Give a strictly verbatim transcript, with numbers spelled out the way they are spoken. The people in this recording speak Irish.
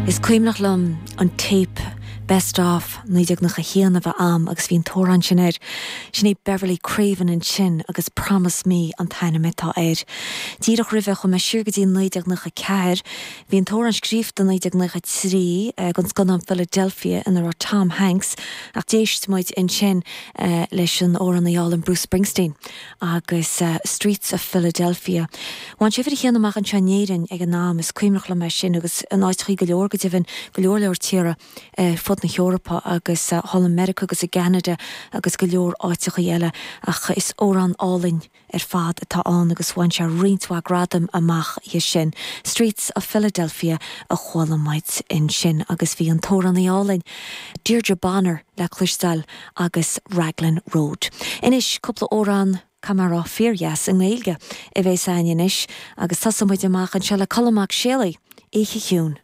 Is cuimhneach liom an téip Best of naoi déag nócha haon a bheith a'm agus bhí an t-amhrán sin air. Sin é Beverley Craven ansin agus Promise Me an t-ainm atá air. Díreach roimhe chuaigh mé siar go dtí naoi déag nócha ceathair, bhí an t-amhrán scríofa naoi déag nócha trí don scannán Philadelphia ina raibh Tom Hanks ach d'éist muid ansin leis an amhránaí álainn Bruce Springsteen agus Streets of Philadelphia. Bhain sé uimhir a haon amach anseo in Éirinn ag an am is cuimhneach liom é sin agus in áiteachaí go leor go deimhin go leor leor tíortha fud na hEorpa agus thall i Meiriceá agus i gCeanada agus go leor áiteachaí eile ach is amhrán álainn ar fad atá ann agus bhain sé roinnt mhaith gradam amach é sin. Streets of Philadelphia a chuala muid ansin agus bhí an t-amhránaí álainn Deirdre Bonner le cloisteáil agus Raglan Road. Anois cúpla amhrán Camara fíordheas i nGaeilge a bheas againn anois agus tosóidh muid amach anseo le Colm Mac Séalaigh, Oíche Chiúin.